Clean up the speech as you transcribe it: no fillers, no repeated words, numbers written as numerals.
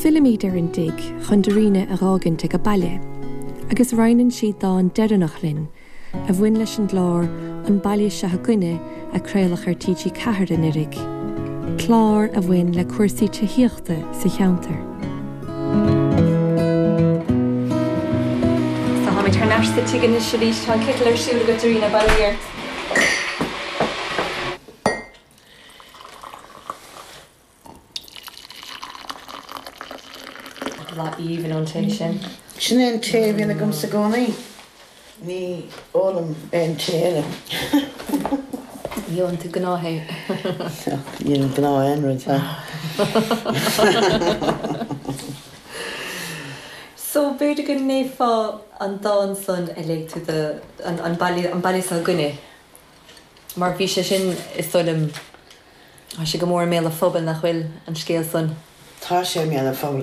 Fillimid ar an dtigh chun Darina a dh'fhágaint ag a baile, agus roinneann sí dán deireanach linn, a bhain leis an gclár An Baile Seo Againne a craoladh ar TG4 anuraidh, clár a bhain le cúrsaí tithíochta sa cheantar. So táimid thar n-ais sa tigh anois arís, tá an citeal ar siúl agat Darina, bail ó Dhia ort. Boladh aoibhinn ón tae sin. Sin é an tae a bhíonn agamsa i gcónaí. Ní ólaim aon tae eile. Ní ólann tú gnáth-thae. Ní ólaim gnáth aon rud. So b'fhéidir go léifeá an dán san a léigh tú do an baile, an baile seo againne. Mar bhí sé sin, is dóigh liom, tá sé go mór i mbéal an phobail, nach bhfuil, an scéal san? Tá sé i mbéal an phobail.